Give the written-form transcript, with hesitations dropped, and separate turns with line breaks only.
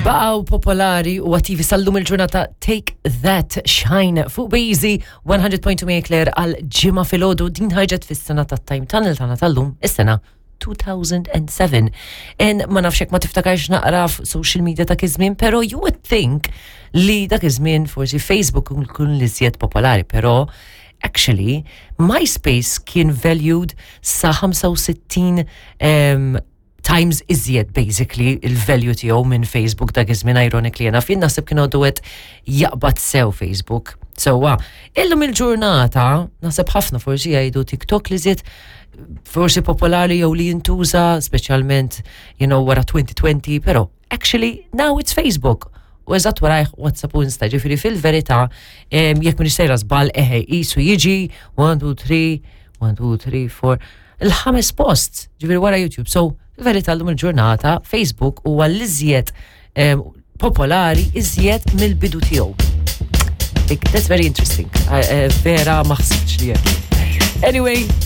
Baqgħu popolari u attivi sal-lum il-ġurnata Take That Shine fuq Beezy 100.2 Claire għal ġimgħa filgħodu din ħarġet fis-sena tat-Time Tunnel tagħna tal-lum is-sena 2007. En ma nafx jekk ma tiftakarx naqra social media dak iż-żmien, però you would think li dak iż-żmien forsi Facebook kun l-iżjed popolari, però actually MySpace kien valued sa 65 times iżjed basically il-value tiegħu minn Facebook dak iż-żmien, ironically enough. Jien naħseb kien għadu qed jaqbad sew Facebook. Sewwa, illum il-ġurnata naħseb ħafna forsi jgħidu TikTok li żied forsi popolari jew li jintuża speċjalment wara 2020, però actually now it's Facebook. U eżatt warajh WhatsApp u Insta, ġifieri fil-verità, jekk m'iniex sejra żball, eħe, jisu jiġi 1, 2, 3, 1, 2, 3, 4, il-ħames post, ġifieri wara YouTube. So, fil-verità l-lum il-ġurnata, Facebook huwa l-iżjed popolari iżjed mill-bidu tiegħu. That's very interesting. Vera ma ħsibx li hekk. Anyway,